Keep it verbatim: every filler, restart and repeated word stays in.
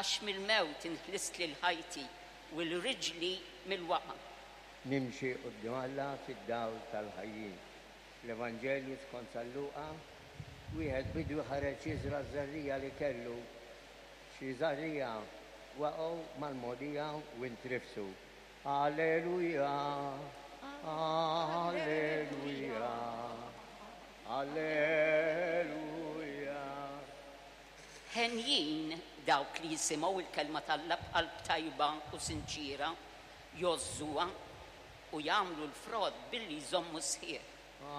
Għax mill-mewt inħlist lil ħajti u 'l riġli mill-waqgħa. Nimxi quddiem Alla fid-dawl tal-ħajjin. L-Evanġelju skont San Luqa, wieħed bidwi ħareġ jiżra' ż-żerriegħa li kellu. Xi żerriegħa waqgħu mal-mogħdija u intrifsu. Alleluja, Alleluja, Alleluja. Henjin dawk li jisimgħu il-kelma t'Alla b'qalb tajba u sinċira, jgħożżuha u jagħmlu l-frott billi jżommu sħiħ.